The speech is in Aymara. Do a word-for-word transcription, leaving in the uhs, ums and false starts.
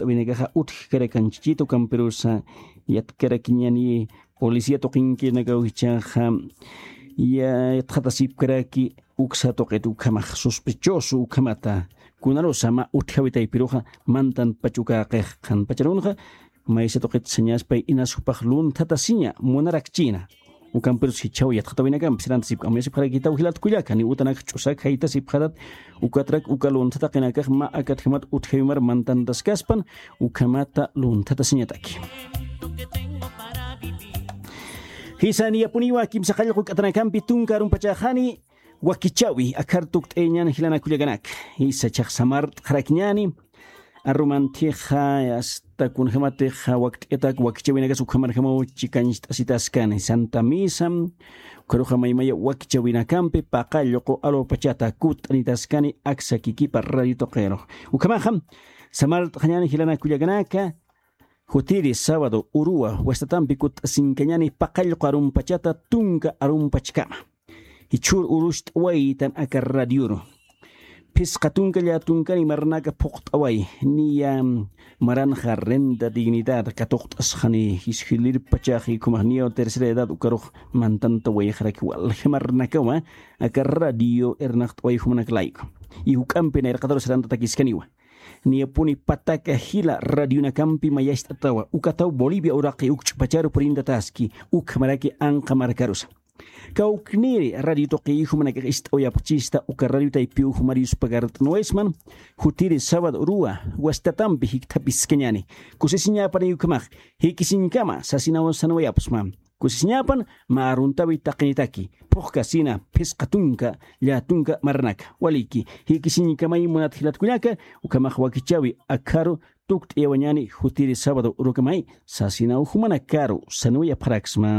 Winakaxa utjkarakanchichita ukampirusa yatkarakiñani policía tuqinkinakaw jichhaxa yatxatasipkaraki uksa tuqit ukhamax sospechoso ukhamata kunarusa mä utjawi taypiruxa mantan pachukäqix qhanpacharunxa maysa tuqit sañaspay inas jupax lunthatasiña munarakchïna. Ukampirus jichhaw yatxatawinakampi sirantasipka amuyasipxarakitaw jilat kullaka ni utanak ch'usak jaytasipxatat ukatrak uka lunthataqinakax mä akatjamat utjawimar mantantaskaspan ukhamata lunthatasiñataki. Jisa niyapuniwa kimsa qallqu k'atanakampi tunka arumpachäxani wakichawi akhar tukt'ayañan jilanakullakanaka. Jisa chhax samart'xarakiñani arumanthixa asta kunjamatixa wakt'ayatak wakichawinakas ukhamarjamaw chikancht'asitaskani santa misa ukharuxa maymaya wakichawinakampi paqallqu arupachata kutt'anitaskani aksa kikipa radio tuqirux. Ukhamaxa samart'xañani jilanakullakanaka jutiri sábado uruwa wastatampi kutt'asinkañani paqallqu arumpachata tunka arumpachkama. Jichhür urucht'awaytan aka radioru phisqa tunka llätunkani marnaka phuqt'away niya maranxa renta dignidad katuqt'asxani jisjilirpachax ikhumajniyaw tercera edad ukarux mantantawayxaraki walja marnakawa aka radio irnaqt'away jumanak layku. Y juk'ampi nayraqataru sarantatakiskaniwa niyapuni pataka jila radionakampi mayacht'atawa ukataw bolivia uraqi ukch'pacharu purintataski ukhamaraki anqa markarusa. Kawkniri radio tuqiy jumanakax ist'awayapxchista uka radio taypiw jumar yuspagart'nuwaysman jutiri sábado uruwa wastatampi jikthapiskañani kusisiñäpanay ukhamax jikisiñkama sasinaw sanwayapxsma. Kusisiñäpan mä aruntawi taqinitaki phuqkasina phisqa tunka llätunka marnaka waliki jikisiñkamay munat jilatkullaka ukhamax wakichawi akharu tukt'ayawañani jutiri sábado urukamay sasinaw jumanakaru sanwayapxaraksma.